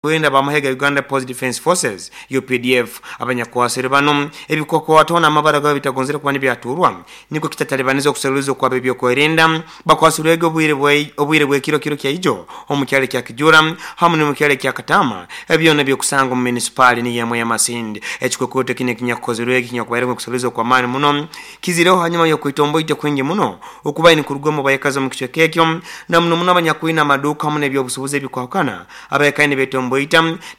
Kwenda bamahe ga Uganda Police Defence Forces UPDF. Abanyakwasire bano ebikwakwatona amabara gabo bitagonzere kuba nibyaturwa, niko kitatalibaniza okuseruliza okwaba ebyokwerinda. Bakwasirwege obwire bwekiro kiro kyaijo omu kyalo kya Kijura hamu n'omu kyalo kya Katama, ebyona byokusanga omu munisipaali niyemwe ya Masindi. Ekikwekweto kino ekinyakukozerwege kinyakubairemu okuseruliza okw'amaani muno kizireho hanyuma y'okwitomboita kwingi muno okubaire nikuruga omu bayekazi omu kicweka ekyo, na muno muno abanyakwine amaduuka hamu n'ebyobusuubuzi ebikwahukana. Abayekazi nibetomboita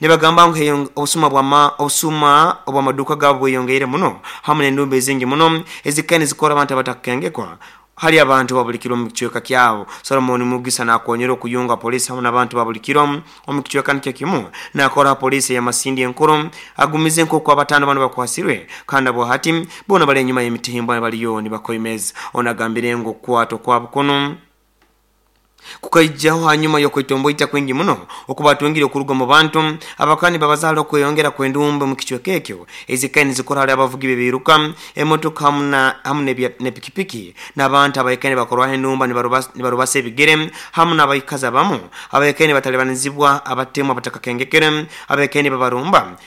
nibagamba ngu obusuma obw'amaduuka gaabo bweyongeire muno hamu n'endumba ezingi muno ezikaire nizikora abantu abatakukengekwa hali abantu ba buli kiro omu kicweka kyabo. Solomon Mugisa nakonyera okuyunga poliisi hamu n'abantu ba buli kiro omu kicweka nikyo kimu nakora ha poliisi eya Masindi enkuru, agumize nk'oku abataano banu bakwasirwe kandi abo hati boona bali enyuma y'emitimbwa baliyo nibakoimeza. Ono agambire ngu okukwatwa kwabo kunu kukaijaho hanyuma y'okwetomboita kwingi muno okubatungire okuruga omu bantu abakaba nibabaza hali okweyongera kw'endumba omu kicweka ekyo ezikaire nizikora hali abavugi b'ebiiruka, emotoka hamu n'epikipiki, n'abantu abaikaire nibakorwaho endumba nibarubasa ebigere, hamu n'abaikazi abamu abaikaire nibatalibanizibwa abatemu abatakakengekere abaikaire nibabarumba.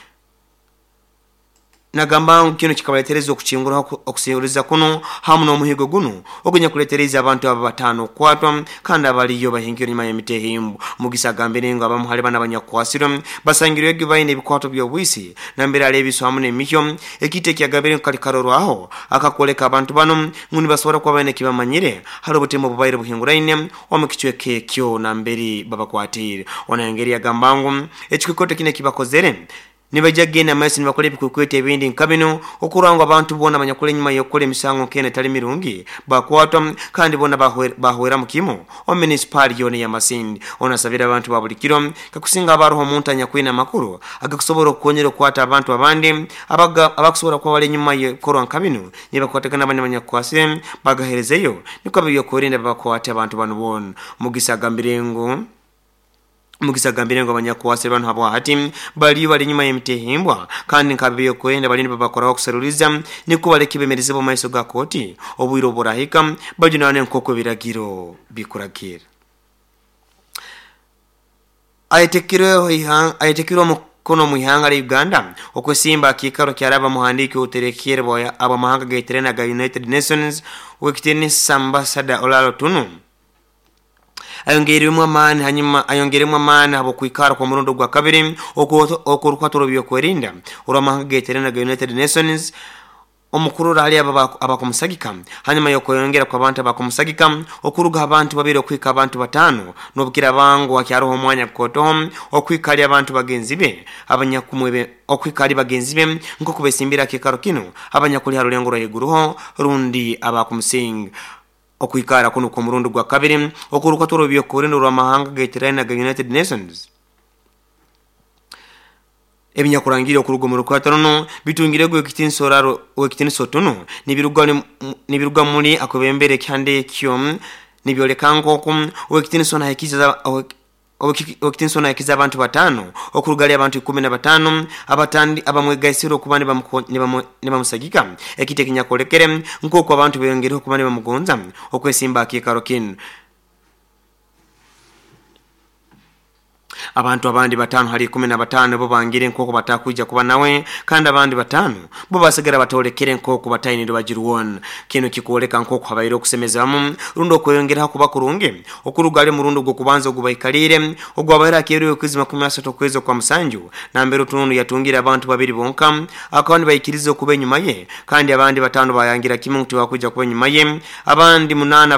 Nagamba ngu kinu kikabaletereza okukinguraho okuseruliza kunu hamu n'omuhigo gunu ogunyakuleteriize abantu aba bataano okukwatwa kandi abaliyo bahingire enyuma y'emitehimbo. Mugisa agambire ngu abamu hali bano abanyakukwasirwe basangirwege baine ebikwato by'obwisi nambere hali ebiso hamu n'emihyo, ekintu ekyagambire ngu kali karorwaho akakwoleka abantu banu ngu nibasobora kuba baine ekibamanyire hali obutemu obubaire buhinguraine omu kicweka ekyo nambere babakwatiire. Ono ayongeri yagamba ngu ekikwekweto kinu ekibakozere nibaija kugenda maiso nibakora ebikwekweto ebindi nka binu okurora ngu abantu boona abanyakuli enyuma y'okukora emisango nk'enu etali mirungi bakwatwa kandi boona bahweramu kimu omu munisipaali yoona eya Masindi. Ono asabire abantu ba buli kiro kakusinga haba haroho omuntu anyakwine amakuru agakusobora okukonyera okukwata abantu abandi abakusobora kuba bali enyuma y'ebikorwa nka binu nibakwatagana bani abanyakukwasire bagaherezeyo nukwo ab'ebyokwerinda babakwate abantu banu boona. Mugisa agambire ngu abanyakukwasire banu habwa hati baliyo bali enyuma y'emitehimbwa kandi nk'ab'ebyokwerinda baliyo nibabakoraho okuseruliza nukwo baleke bemerezebwa omu maiso ga kooti obwire oburahika bajunanwe nk'oku ebiragiro bikuragira. Ayetekirwe omukono omu ihanga lya Uganda okwesimba akiikaro kyaraba muhandiiki oterekere ab'amahanga geterane aga United Nations, ow'ekitiinisa Ambassador Olara Otunu, ayongeirwemu amaani hanyuma ayongeiremu amaani habw'okwikara kw'omurundi ogwa kabiri okw'orukwata orw'ebyokwerinda orw'amahanga geterane aga United Nations omukurora hali abo abakumusagika, hanyuma y'okweyongera kw'abantu abakumusagika okuruga abantu babiri okuhika abantu bataano, n'obukiraaba ngu hakyaroho omwanya gukootoho okuhika hali abantu bagenzi be abanyakumwebe okuhika hali bagenzi be nk'oku besimbire akiikaro kinu abanyakuli ha rulengo rwa haiguruho rundi abakumusinga. Okwikara kunu kw'omurundi gwa kabiri okw'orukwata orw'ebyokwerinda orw'amahanga geterane aga United Nations, ebinyakurangire okuruga omu rukwata runu bitungirege ow'ekitiinisa Otunu nibiruga muli akwebembera ekihanda ekyo, nibyoleka nk'oku ow'ekitiinisa ono ahikize abantu bataano okuruga hali abantu 15 abatandi abamwegaisire okuba nibamusagika, ekintu ekinyakwolekere nk'oku abantu beyongereho okuba nibamugonza okwesimba akiikaro kinu. Abantu abandi bataano hali 15 bo bangire nk'oku batakwija kuba nawe, kandi abandi bataano bo basigara batolekere nk'oku bataine rubaju rwona. Kinu kikwoleka nk'oku habaire okusemezamu rundi okweyongeraho kuba kurungi okuruga hali omurundi ogw'okubanza ogubaikaliire ogwabaire hakeerwe okwezi 30 okwezi okwa musanju, nambere Otununu yatungire abantu babiri bonka akaba nibaikiriza okuba enyuma ye, kandi abandi bataano bayangira kimu ngu tibakwija kuba enyuma ye, abandi munaana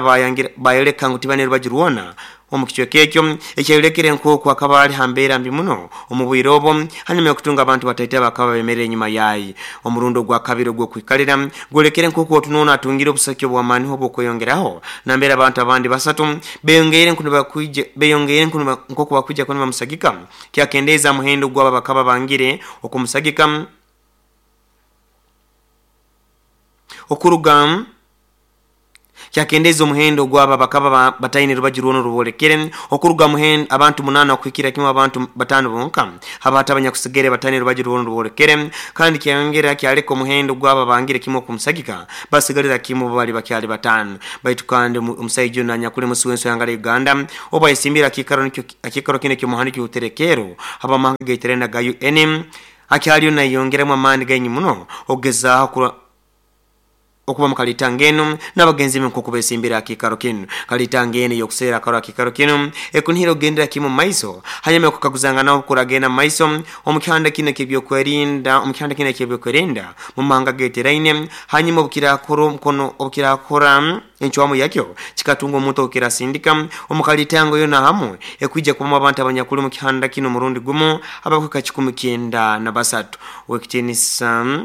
bayoleka ngu tibaine rubaju rwona omu kicweka ekyo, ekyayolekere nk'oku akaba ali ha mbeera mbi muno omu bwire obwo hanyuma y'okutunga abantu bataito abakaba bemerire enyuma yaye. Omurundi ogwa kabiri ogw'okwikalira gwolekere nk'oku Otununu atungire obusaki obw'amaaniho obw'okweyongeraho, nambere abantu abandi basatu beyongeire nk'oku bakwija kuba nibamusagika, kyakendeeza muhendo gwabo abakaba bangire okumusagika okuruga. Kyakendeeza omuhendo ogw'abo abakaba bataine rubaju rwona oruboolekere, okuruga ha abantu munaana okuhikira kimu abantu bataano bonka haba hati abanyakusigaire bataine rubaju rwona oruboolekere, kandi kyayongera kyaleka omuhendo gw'abo abangire kimu okumusagika basigalira kimu bo bali bakyali bataano. Baitu kandi omusaija onu anyakuli musi w'ensi w'ihanga lya Uganda obu ayesimbire ha kiikaro kinu eky'omuhandiiki w'obuterekeero habw'amahanga agaiteraine aga UN akyaliyo nayeyongeramu amaani gaingi muno okugezaaho okuba mu kalitanga enu n'abagenzi be nk'oku besimbire ha kiikaro kinu. Kalitanga enu ey'okuseera akarora kiikaro kinu ekunihira okugendera kimu mu maiso hanyuma y'okukaguzanganaho obukuragenda mu maiso omu kihanda kinu eky'ebyokwerinda omu kihanda kinu eky'ebyokwerinda mu mahanga ageteraine hanyuma obukirakora omukono obukirakora encwamu yakyo kikatunga omuntu owukirasindika omu kalitango yona hamu ekwija kubamu abantu abanyakuli omu kihanda kinu omurundi gumu abakuhika 193. Owekitiinisa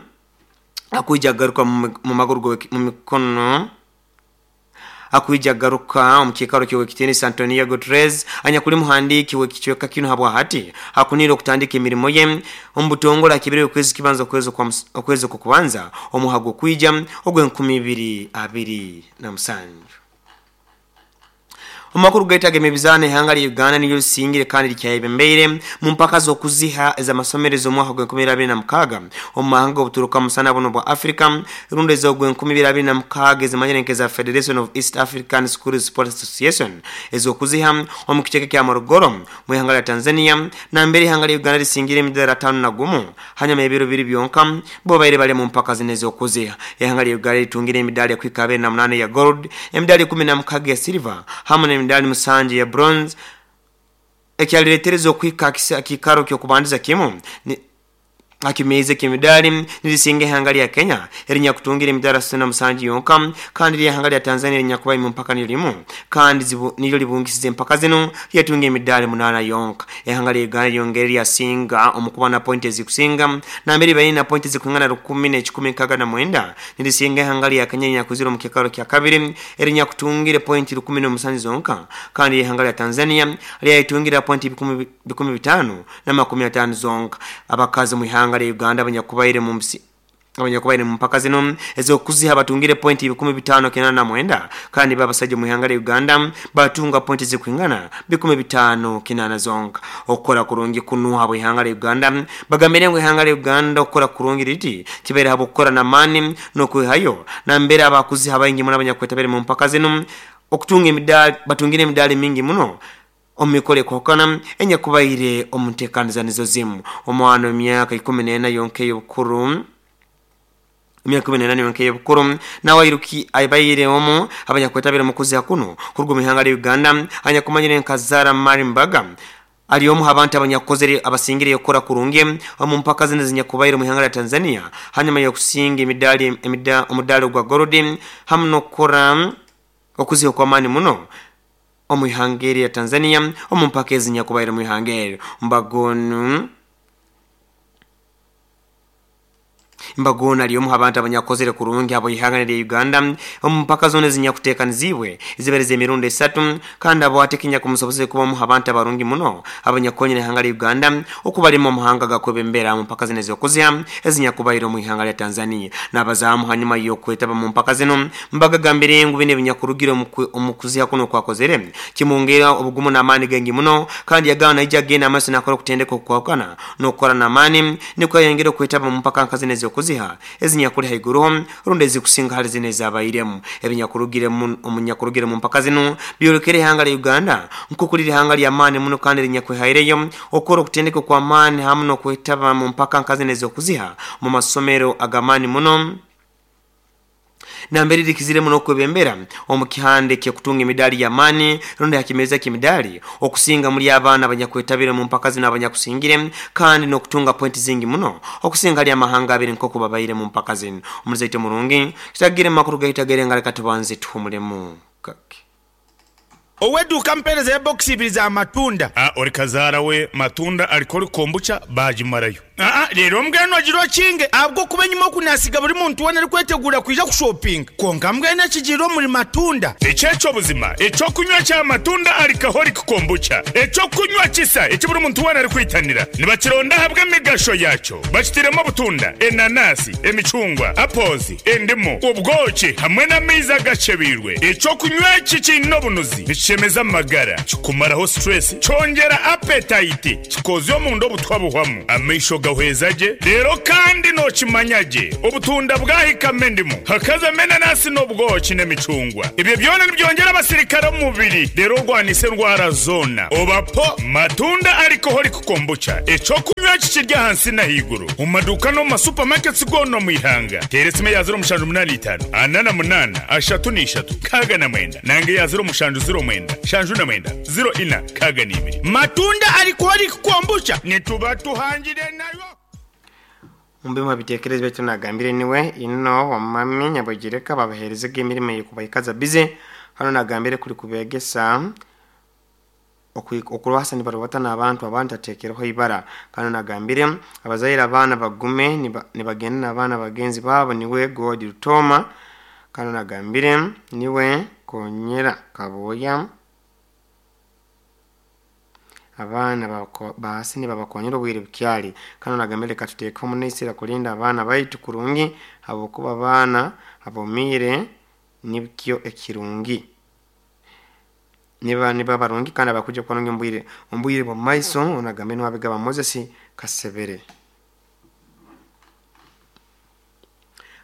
akwija kugaruka mu maguru mu mikono akwija kugaruka omu kiikaro ky'owekitiinisa Antonio Guterres anyakuli muhandiiki w'ekicweka kinu habwa hati akunire okutandika emirimo ye omu butongole akibire okwezi kibanza okwezi okw'okubanza omwaka gw'okwija ogw'e 2027. Omu makuru gaitu ag'emizaano, ihanga lya Uganda niryo lisingire kandi likyayebembeire mu mpaka z'okuziha ez'amasomero ez'omwaka gw'e2026 omu mahanga g'obuturuka musana buno bwa Africa rundi ez'ogw'2026 ezimanyire nk'eza Federation of East African Schools Sports Association ez'okuziha omu kicweka kya Morogoro mu ihanga lya Tanzania, nambere ihanga lya Uganda lisingire emidaara 51 hanyuma y'ebiro bibiri byonka bo baire bali mu mpaka zino ez'okuziha. Ihanga lya Uganda litungire emidaali ekuhika 28 ya gold, emidaali 16 ya silver hamu n'emidaali 7 ya bronze, ekyaliretereza okuhika ha kiikaro ky'okubandiza kimu ha kimeeza eky'emidaali nirisinga ihanga lya Kenya erinyakutungire emidaali 67 yonka, kandi ly'ihanga lya Tanzania erinyakubaire mu mpaka niryo limu kandi niryo libungisize empaka zinu lyatunga emidaali 8 yonka. Ihanga lya Uganda lyongere lyasinga omu kuba na pointi ezikusinga nambere baine na pointi ezikuingana 1169, nirisinga ihanga lya Kenya erinyakwizire omu kiikaro kya kabiri erinyakutungire pointi 1007 zonka, kandi ihanga lya Tanzania lyayetungire pointi 550 zonka. Abakazi mu ihanga lya Uganda abanyakubaire mu mpaka zino ez'okuziha batungire pointi 589, kandi babasajja mu ihanga lya Uganda batunga pointi zikuingana 508 zonka. Okukora kurungi kunu habwa ihanga lya Uganda, bagambire ngu ihanga lya Uganda okukora kurungi riti kibaire habw'okukora n'amaani n'okwihayo, nambere abakuziha baingi muno abanyakwetabire mu mpaka zino okutunga emidaali batungire emidaali mingi muno omu mikoro ekwahukana enyakubaire omu nteekaniza nizo zimu. Omwana w'emyaka 14 yonka ey'obukuru, emyaka 14 yonka ey'obukuru, nawe airuki abaire omu abanyakwetabire omu kuziha kuno kuruga omu ihanga lya Uganda anyakumanyire nka Zara Marimbaga ali omu abantu abanyakukozere abasingire okukora kurungi omu mpaka zino ezinyakubaire omu ihanga lya Tanzania hanyuma y'okusinga emidaali omudaali ogwa gold hamu n'okukora okuziha okw'amaani muno omu ihanga eri lya Tanzania omu mpaka ezinyakubaire omu ihanga eryo. Mbagonu ali omu abantu abanyakukozere kurungi abo ihanga lya Uganda omu mpaka zona ezinyakuteekaniziibwe ezibaire z'emirundi esatu, kandi abo ate ekinyakumusobozere kuba omu abantu abarungi muno abanyakukonyera ihanga lya Uganda okubalema omuhanga gakwebembera mu mpaka zino ez'okuziha ezinyakubaire omu ihanga lya Tanzania. N'abazaamu hanyuma y'okwetaba mu mpaka zino mbagagambire ngu bino ebinyakurugire omu kuziha kuno okwakozere kimwongera obugumu n'amaani gaingi muno, kandi yagamba naija agenda amaiso nakora okutendeka okukwahukana n'okukora n'amaani nikwo ayongere okwetaba mu mpaka nka zino ez'okuziha ezinyakuli haiguruho rundi ezikusinga hali zino ezabairemu. Ebinyakurugire omunyakurugire mu mpaka zino byolekere ihanga lya Uganda nk'oku liri ihanga ly'amaani muno kandi erinyakwehaireyo okukora okutendeka okw'amaani hamu n'okwetaba mu mpaka nka zino ez'okuziha mu masomero ag'amaani muno, nambere rikizire muno okwebembera omu kihanda eky'okutunga emidaali y'amaani rundi ha kimeeza ky'emidaali okusinga muli abaana abanyakwetabire mu mpaka zino abanyakusingire, kandi n'okutunga pointi zingi muno okusinga hali amahanga abiri nk'oku babaire mu mpaka zino. Omuzaito murungi kitagire mu makuru gaitu ag'erenga, leka tubanze tuhumulemu kake. Ow'eduuka mpeereza ya bokisi ibiri za matunda. A Ori kazaara we matunda arikora kombucha baagimarayo. Aa reero mbwenu ogira okinge ahabw'okuba enyima oku naasiga buri muntu weena arikweteguura kwija kushopinga. Kwonka mbwenu ekigiire omuri Matunda. Eki eky'obuzima, eky'okunywa kya Matunda Alcoholic Kombucha, eky'okunywa kisa eki buri muntu weena arikwitanira. Nibakironda ahabw'emigasho yaakyo. Bakitairemu obutunda, enanasi, emicungwa, apples, endimu, obwoki hamwe n'amaizi agakyebeirwe. Eky'okunywa eki kiine obunuzi, nikishemeza amagara, kikumaraho stress, kyongyera appetite, Kikoozya omunda obutwa buhwamu, amaisho gahweza gye, reero kandi nookimanya gye obutunda bwahikamu endimu, hakazamu enanasi n'obwoki n'emicungwa. Ebyo byona nibyongyera abasirikare omu mubiri reero orwanisa endwara zoona. Oba po Matunda Alcoholic Kombucha, eky'okunywa eki kiri ahansi n'ahaiguru omu maduuka n'omu ma supermarkets goona omu ihanga. Teera esimu eya ziro mushanju munaana itaano, ana na munaana, ashatu na ishatu, nkaaga na mwenda nanga eya ziro mushanju ziro mwenda, nshanju na mwenda, ziro ina. Nkaaga na ibiri. Matunda Alcoholic Kombucha nituba tuhangire nayo. Omu bimu ha bitekerezo byaitu nagambire niwe ino wamami Nyabwegireka babaherezege emirimo ey'okubaikaza bize hano nagambire kuli kubegesa okurwasa nibarubata n'abantu abandi atekereho ibara. Kandi nagambire abazaire abaana bagume nibagenda n'abaana bagenzi babo niwe God Rutoma. Kandi nagambire niwe Konyera Kaboya abaana baasi nibabakonyera obwire bukyali. Kandi nagambire leka tuteeke omunaisira kulinda abaana baitu kurungi habwokuba abaana abomiire nibyo ekirungi niba niba barungi kandi abakuja kubarungi ombwire bwa maiso. Onagambe niwabigaba Moses Kasebere.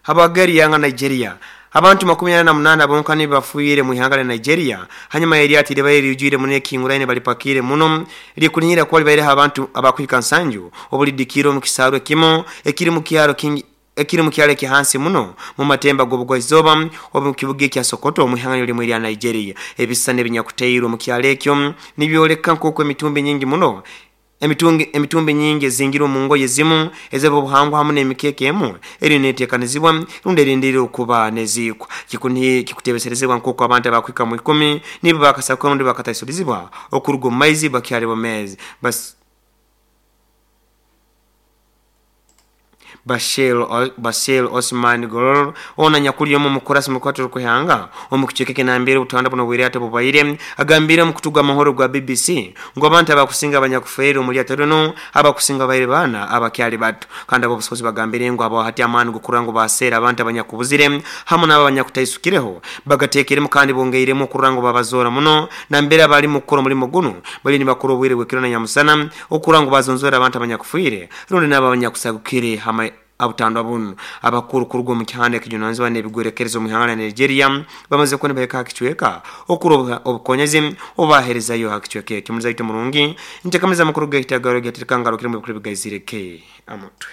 Habagari yanga Nigeria abantu 48 bonka nibafuire mu ihanga lya Nigeria hanyuma yeri libaire lijwire muno ekinguraine balipakire muno likunihira kuba libaire abantu abakwika nsanju obulidikiro mu kisarwe kimo ekiri mu kyaro kingi ekiri mu kyalo ekihansi muno mu matemba g'obugwaizoba omu kibuga ekya Sokoto mu ihanga limwe lya Nigeria. Ebisisani ebinyakuteirwe mu kyalo ekyo nibyoleka nk'oku emitumbi nyingi muno emitumbi nyingi ezingirwe mu ngoye zimu ez'obuhangwa hamu n'emikeeka emu eri neteekanizibwa rundi erindire okuba neziikwa. Kikutebeserezebwa nk'oku abantu abakwika mu 10 nibo bakasakwa rundi bakataisurizibwa okuruga omu maizi bakyali bomezi. Bashir Osman Gorol ona nyakuli yomu mukurasi mukwatu rukuhanga omu kicheke kinambire utanda buno bwire bubaire agambire mu kutuga amahoro gwa BBC ngo abantu abakusinga abanyakufeero muri atono abakusinga baire bana abakyali bato. Kandi abo busozi bagambire ngo abo hati amani gukurango basera abantu abanyakubuzire hamwe n'abanyakutaisukireho bagatekeremu kandi bongeiremu kurango babazora muno nambere abali mukoro muri muguno bali nibakuru obwire bwekiro na nyamusana okurango bazonzora abantu abanyakufuire rundi n'aba abanyakusagukire hamwe abutandwa bunu. Abakuru kurugo mu kihanda kijunanzwa n'ebigwerekerezo mu ihanga Nigeria bamaze kubona baheka hakichweka okuroba obukonyezi obaherezayo hakichweka ekyo muzaito murungi ntekameza makuru gahitagaro gatirikangaro kiri mu bikuru bigazireke amutwe.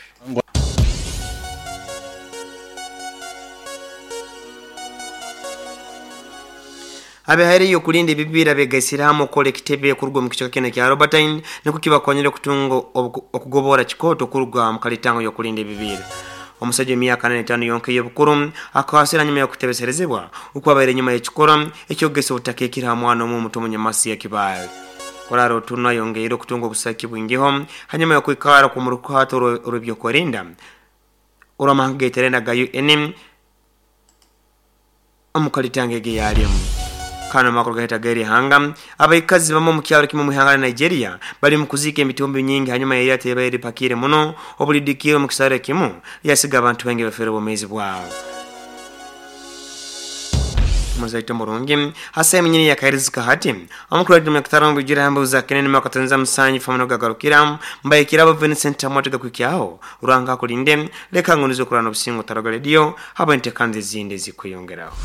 Abahari yo kulinda ebibira begaisiramu okole kitebe kuruga mu kichaka kene kya Robertine niko kibakonyera kutunga okugobora chikoto kuruga mu kalitango yo kulinda ebibira. Omusajja emyaka 45 yonke y'obukuru akawasira nyuma yo kutebeserezebwa okwabaire nyuma y'ekikora ekyogesa obutaka ekiri hamwana omu muto munyamasi ya Kibaale. Koraro tuna yongeire okutunga obusaki bwingiho hanyuma yo kwikara ku murukato rw'ebyokurinda oramahanga geterena ga UN omukalitango ge yalimu. Kano makuru gahita gari hanga abaikazi bamo mu kyalo kimwe mu ihanga la Nigeria bali mu kuzika emitumbi nyingi hanyuma yari ateba pakire muno obulidikiro mu kisare kimu yasiga abantu bengi bafere bomezi bwabo. Muzaito murungi hasa eminyini yakahirizika hati amakuru ya mkutano bujira hambuza kenene makatanza musanyi famano gagarukira mbaye kirabo Vincent Amwatega kwikyaho uranga kulinde leka ngonizo kurana obusingo taraga radio haba ntekanze zinde zikwiyongeraho.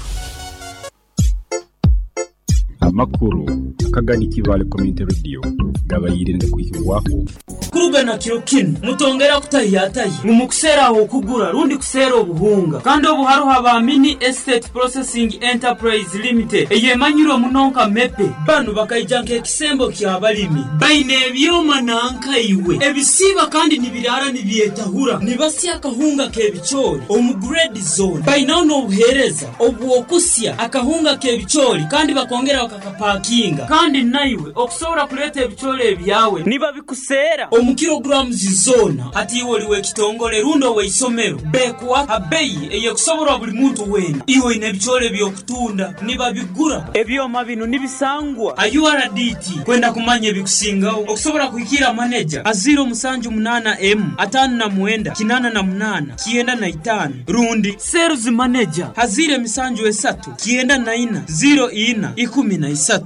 Amakuru akagani Kibale Community Radio gabayirinde kwihirwaho kurugana kiro kino mutongera kutayataye mumukusera aho kugura rundi kusera obuhunga kandi obuharuha ba Mini Estate Processing Enterprise Limited eyemanyiro munonka mepe banu bakaijanka ekisembo kya balimi baine ebyoma nanka iwe ebisiba kandi nibirara nibyetahura nibasya akahunga kebichori omu grade zone bainaho n'obuhereza obwokusya akahunga kebichori kandi bakongera Bakapakinga. Kandi naiwe okusobora kuleeta ebicoori ebyawe nibabikuseera omu kilograms zoona. Hati iwe oli w'ekitongole rundi ow'eisomero, beekuha ha bbeyi ey'ekusoborwa buli muntu weena. Iwe oine ebicoori eby'okutunda nibabigura. Ebyoma binu nibisangwa ha URDT. Kwenda kumanya ebikusingaho okusobora kuhikirra maneja ha 078 emu 59 88 95 rundi Sales Manager ha 073 94 04 13.